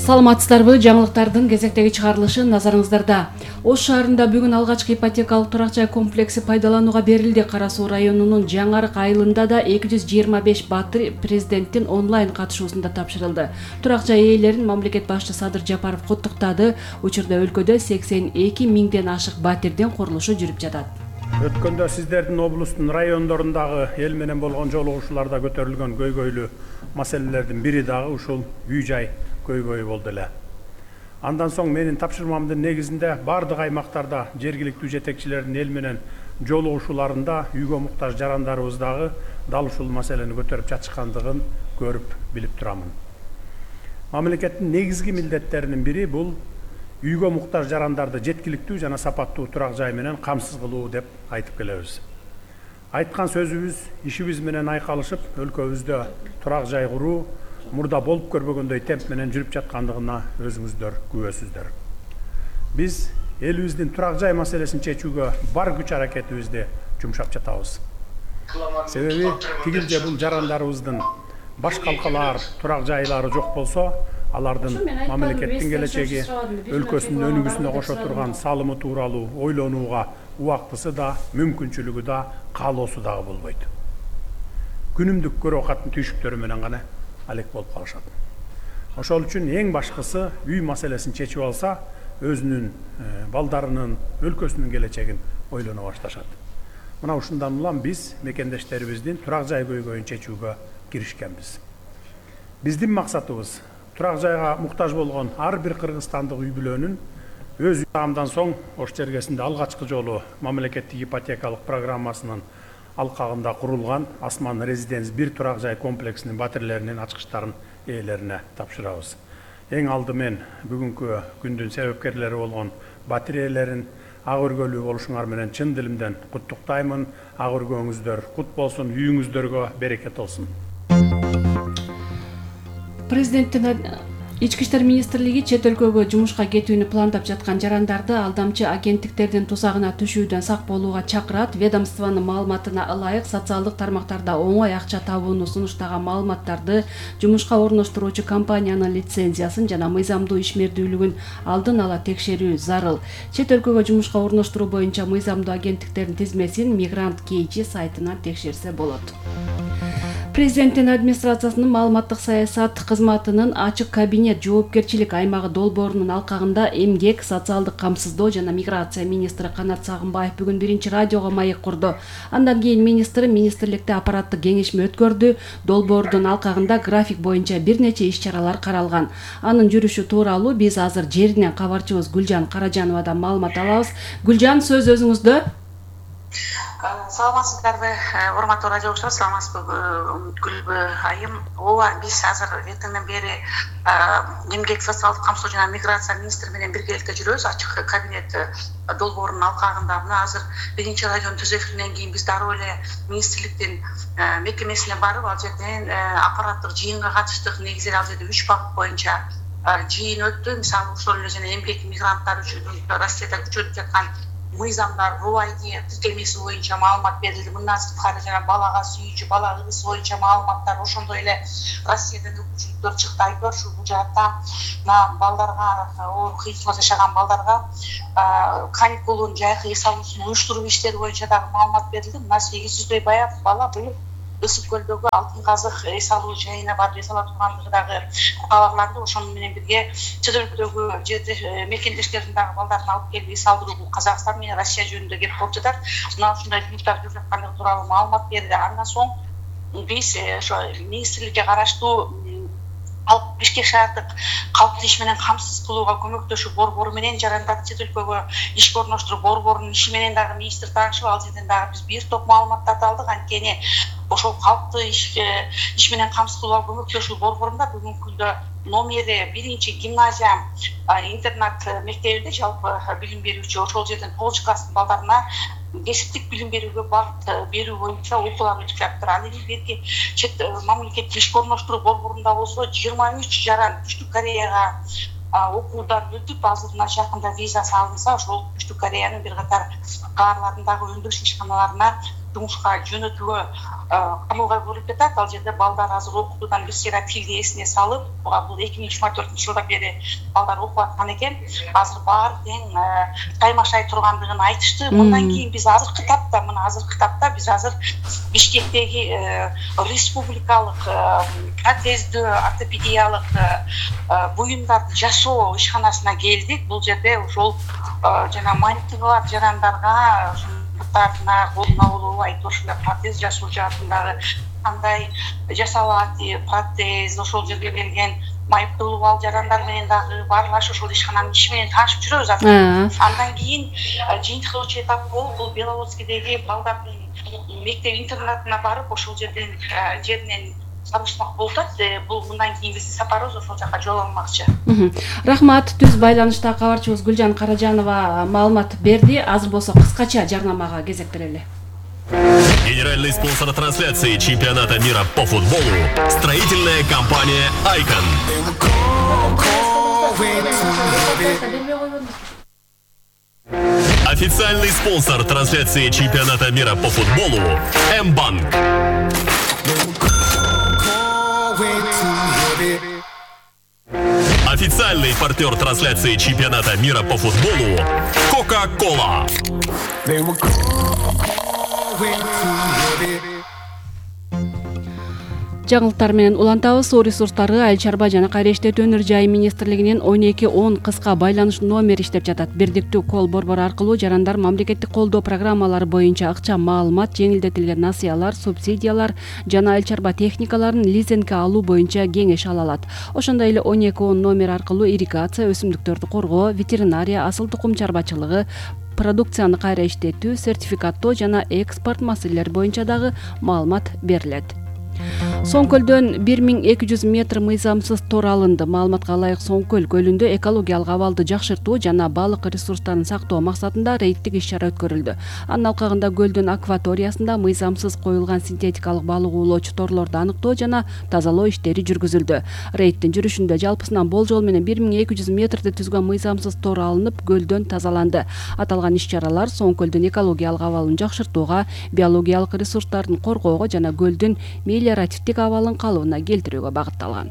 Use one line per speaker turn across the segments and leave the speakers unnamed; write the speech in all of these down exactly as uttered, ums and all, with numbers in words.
Саламатсыздарбы? Жаңылыктардын кезектеги чыгарылышы назарыңыздарда. Ош шаарында бүгүн алгачкы ипотекалык турак жай комплекси пайдаланууга берилди. Кара Суу районунун Жаңарык айылында да эки жүз жыйырма беш батир президенттин онлайн катышуусунда тапшырылды. Турак жай ээлерин мамлекет башчысы Садыр Жапаров куттуктады. Учурда өлкөдө сексен эки миңден ашык батирдин курулушу жүрүп жатат.
Өткөндө сиздердин облустун райондорундагы эл менен болгон жолугушууларда көтөрүлгөн көйгөйлүү маселелердин бири дагы ушул үй жай көйгөйү болду эле. Андан соң менин тапшырмамдын негизинде бардык аймактарда жергиликтүү жетекчилердин эл менен жолугушууларында үйгө муктаж жарандарыбыз дагы дал ушул маселени көтөрүп жатышкандыгын көрүп билип турамын. Мамлекеттин негизги милдеттеринин бири бул үйгө муктаж жарандарды жеткиликтүү жана сапаттуу турак жай менен камсыз кылуу деп айтып келебиз. Айткан сөзүбүз ишибиз менен айкалышып, өлкөбүздө турак жай куруу мурда болуп көрбөгөндөй темп менен жүрүп жаткандыгына өзүңүздөр күбөсүздөр. Биз элибиздин турак жай маселесин чечүүгө бар күч аракетибизди жумшап жатабыз. Себеби тигил же бул жарандарыбыздын баш калкалаар турак жайлары жок болсо, алардын мамлекеттин келечеги, өлкөсүнүн өнүгүүсүнө кошо турган салымы тууралуу ойлонууга убактысы да, мүмкүнчүлүгү да, каалоосу дагы болбойт. Күнүмдүк көрө катын түйшүктөрү менен гана алек болуп калышат. Ошол үчүн эң башкысы үй маселесин чечип алса, өзүнүн балдарынын, өлкөсүнүн келечегин ойлоно башташат. Мына ушундан улам биз мекендештерибиздин турак жай көйгөйүн чечүүгө киришкенбиз. Биздин максатыбыз турак жайга муктаж болгон ар бир кыргызстандык үй бүлөнүн өз уямдан соң Ош чергесинде алгачкы жолу мамлекеттик ипотекалык программасынын алкагында курулган Асман Резиденс бир турак жай комплексинин батирлеринин ачкычтарын ээлерине тапшырабыз. Эң алдымен бүгүнкү күндүн себепкерлери болгон батир ээлерин ак өргөлүү болушуңар менен чын дилимден куттуктаймын. Ак өргөөңүздөр кут болсун, үйүңүздөргө берекет болсун.
Президенттин Ички иштер министрлиги чет өлкөгө жумушка кетүүнү пландап жаткан жарандарды алдамчы агенттиктердин тузагына түшүүдөн сак болууга чакырат. Ведомствонун маалыматына ылайык социалдык тармактарда оңой акча табууну сунуштаган маалыматтарды, жумушка орноштуруучу компаниянын лицензиясын жана мыйзамдуу ишмердүүлүгүн алдын ала текшерүү зарыл. Чет өлкөгө жумушка орноштуруу боюнча мыйзамдуу агенттиктердин тизмесин Мигрант Кейчи сайтынан текшерсе болот. Президенттин администрациясынын маалыматтык саясат кызматынын ачык кабинет жоопкерчилик аймагы долбоорунун алкагында эмгек, социалдык камсыздоо жана миграция министри Канат Сагынбаев бүгүн биринчи радиого маек курду. Андан кийин министр министрликте аппараттык кеңешме өткөрдү. Долбоордун алкагында график боюнча бир нече иш-чаралар каралган. Анын жүрүшү тууралуу биз азыр жеринен кабарчыбыз Гүлжан Каражановадан маалымат алабыз. Гүлжан, сөз өзүңүздө.
Саламатсыздарбы, урматтуу радиолучулар, саламатсызбы Гүлбү айым. Ооба, биз азыр эртеңден бери эмгек, социалдык камсыздоо жана миграция министри менен биргеликте жүрөбүз. Ачык кабинет долбоорунун алкагында мына азыр биринчи радионун түз эфиринен кийин биз дароо эле министрликтин мекемесине барып, ал жерден аппараттык жыйынга катыштык. Негизи ал жерде үч багыт боюнча жыйын өттү. Мисалы, ошол эле жана эмгек мигранттар үчүн Россияда күчөнүп жаткан мыйзамдар рубайди тиркемеси боюнча маалымат берилди. Мындан сырткары жана балага сүйүүчү, бала ырысы боюнча маалыматтар, ошондой эле Россиядан өкүлчүлүктөр чыкты. Айтор ушул бул жаатта мына балдарга, оор кыйынчылыкта жашаган балдарга каникулун жайкы эс алуусун уюштуруу иштери боюнча дагы маалымат берилди. Мына сегиз жүздөй бая бала бул Ысык көлдөгү Алтын казык эс алуу жайына барып эс ала тургандыгы дагы кабарланды. Ошону менен бирге чет өлкөдөгү жерде мекендештердин дагы балдарын алып келип эс алдыруу бул Казакстан менен Россия жөнүндө кеп болуп жатат. Мына ушундай жумуштар жүрүп жаткандыгы тууралуу маалымат берди. Андан соң биз ошо министрликке караштуу Бишкек шаардык калктуу иш менен камсыз кылууга көмөктөшүү борбору менен жарандарды чет өлкөгө ишке орноштуруу борборунун иши менен дагы министр таанышып, ал жерден дагы биз бир топ маалыматтарды алдык. Анткени ошол калктуу иш иш менен камсыз кылууга көмөктөшүү борборунда бүгүнкү күндө номери биринчи гимназия интернат мектебинде жалпы билим берүүчү, ошол жерден тогузунчу класстын балдарына кесиптик билим берүүгө багыт берүү боюнча окуулар өтүп жатыр. Ал эми берки чет мамлекеттик ишке орноштуруу борборунда болсо жыйырма үч жаран Түштүк Кореяга окуудан өтүп, азыр мына жакында визасы алынса, ошол Түштүк Кореянын бир катар каарларындагы өндүрүш ишканаларына жумушка жөнөтүүгө камылга көрүлүп жатат. Ал жерде балдар азыр окутуудан бир сыйра тилди эсине салып, бул эки миң жыйырма төртүнчү жылдан бери балдар окуп аткан экен. Азыр баары тең каймашай тургандыгын айтышты. Мындан кийин биз азыркы тапта, мына азыркы тапта биз азыр Бишкектеги республикалык протездүү ортопедиялык буюмдарды жасоо ишканасына келдик. Бул жерде ошол жана мантигалар жарандарга мурттарына колуна болобу айтып ошол протез жасоо жаатындагы кандай жасалат протез, ошол жерге келген майыптуулук ал жарандар менен дагы баарлашып ошол ишкананын иши менен таанышып жүрөбүз азыр. Андан кийин жыйынтыктоочу этап болуп, бул Беловодскийдеги балдардын мектеп интернатына барып, ошол жерден жеринен сабышмак болуп атат. Бул мындан кийин биздин сапарыбыз ошол жака жол алмакчы.
Рахмат. Түз байланышта кабарчыбыз Гүлжан Каражанова маалымат берди. Азыр болсо кыскача жарнамага кезек берели.
Генеральный спонсор трансляции чемпионата мира по футболу – строительная компания «Айкон». Официальный спонсор трансляции чемпионата мира по футболу – М-банк. Официальный партнер трансляции чемпионата мира по футболу – Кока-Кола.
Жаңылыктар менен улантабыз. Суу ресурстары, айыл чарба жана кайра иштетүү өнөр жайы министрлигинин он эки он кыска байланыш номери иштеп жатат. Бирдиктүү кол борбору аркылуу жарандар мамлекеттик колдоо программалары боюнча акча маалымат, жеңилдетилген насыялар, субсидиялар жана айыл чарба техникаларын лизингге алуу боюнча кеңеш ала алат. Ошондой эле он эки он номер аркылуу ирригация, өсүмдүктөрдү коргоо, ветеринария, асыл тукум чарбачылыгы, продукцияны кайра иштетүү, сертификаттоо жана экспорт маселелери боюнча дагы маалымат берилет. Соңкөлдөн бир миң эки жүз метр мыйзамсыз тор алынды. Маалыматка ылайык Соңкөл көлүндө экологиялык абалды жакшыртуу жана балык ресурстарын сактоо максатында рейдтик иш-чара өткөрүлдү. Анын алкагында көлдүн акваториясында мыйзамсыз коюлган синтетикалык балык уулоочу торлорду аныктоо жана тазалоо иштери жүргүзүлдү. Рейдтин жүрүшүндө жалпысынан болжол менен бир миң эки жүз метрди түзгөн мыйзамсыз тор алынып, көлдөн тазаланды. Аталган иш-чаралар Соңкөлдүн экологиялык абалын жакшыртууга, биологиялык ресурстарын коргоого жана көлдүн мелиоративдик абалын калыбына келтирүүгө багытталган.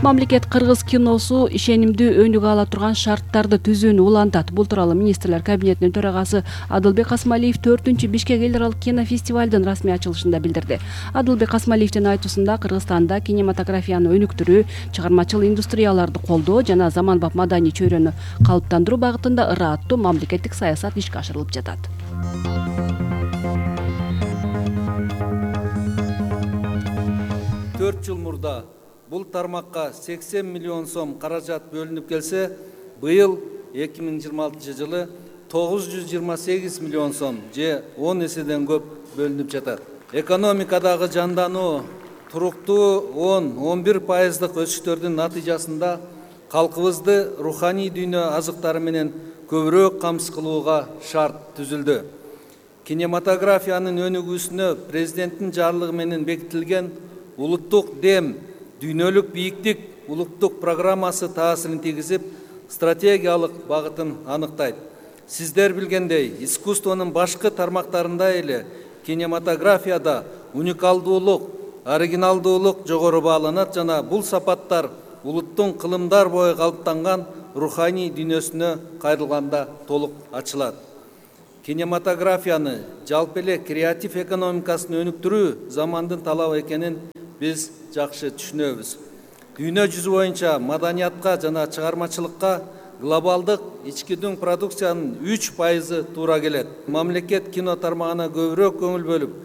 Мамлекет кыргыз киносу ишенимдүү өнүгө ала турган шарттарды түзүүнү улантат. Бул тууралуу министрлер кабинетинин төрагасы Адылбек Касмалиев төртүнчү Бишкек эл аралык кинофестивалдын расмий ачылышында билдирди. Адылбек Касмалиевдин айтуусунда Кыргызстанда кинематографияны өнүктүрүү, чыгармачыл индустрияларды колдоо жана заманбап маданий чөйрөнү калыптандыруу багытында ырааттуу мамлекеттик саясат ишке ашырылып жатат.
төрт жыл мурда бул тармакка сексен миллион сом каражат бөлүнүп келсе, быйыл эки миң жыйырма алтынчы жылы тогуз жүз жыйырма сегиз миллион сом же он эседен көп бөлүнүп жатат. Экономикадагы жандануу туруктуу он он бир пайыздык өсүштөрдүн натыйжасында калкыбызды руханий дүйнө азыктары менен көбүрөөк камсыз кылууга шарт түзүлдү. Кинематографиянын өнүгүүсүнө президенттин жарлыгы менен бекитилген улуттук дем, дүйнөлүк бийиктик улуттук программасы таасирин тийгизип, стратегиялык багытын аныктайт. Сиздер билгендей, искусствонун башкы тармактарында эле кинематографияда уникалдуулук, оригиналдуулук жогору бааланат жана бул сапаттар улуттун кылымдар бою калыптанган руханий дүйнөсүнө кайрылганда толук ачылат. Кинематографияны жалпы эле креатив экономикасын өнүктүрүү замандын талабы экенин биз жакшы түшүнөбүз. Дүйнө жүзү боюнча маданиятка жана чыгармачылыкка глобалдык ички дүң продукциянын үч пайызы туура келет. Мамлекет кино тармагына көбүрөөк көңүл бөлүп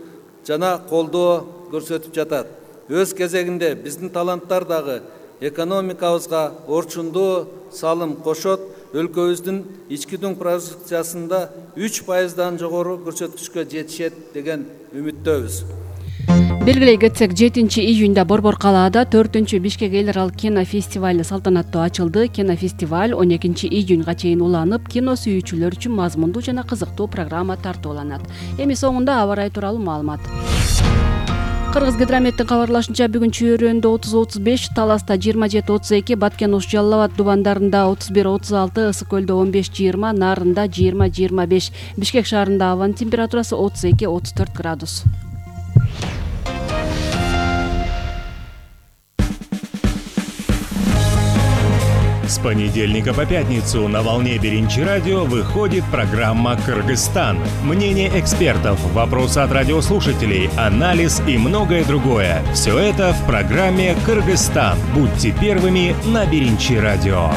жана колдоо көрсөтүп жатат. Өз кезегинде биздин таланттар дагы экономикабызга орчундуу салым кошот, өлкөбүздүн ички дүң продукциясында үч пайыздан жогору көрсөткүчкө жетишет деген үмүттөбүз.
Белгилей кетсек, жетинчи июнда Борбор калаада төртүнчү Бишкек эл аралык кинофестивали салтанаттуу ачылды. Кинофестиваль он экинчи июнга чейин уланып, кино сүйүүчүлөр үчүн мазмундуу жана кызыктуу программа тартууланат. Эми соңунда аба ырайы тууралуу маалымат. Кыргыз гидрометтин кабарлашынча бүгүн Чүйөрөндө отуз отуз беш, Таласта жыйырма жети отуз эки, Баткен Ош Жалал Абад дубандарында отуз бир отуз алты, Ысык көлдө он беш жыйырма, Нарында жыйырма жыйырма беш, Бишкек шаарында абанын температурасы отуз эки отуз төрт градус.
С понедельника по пятницу на волне Биринчи радио выходит программа «Кыргызстан». Мнение экспертов, вопросы от радиослушателей, анализ и многое другое. Все это в программе «Кыргызстан». Будьте первыми на Биринчи радио.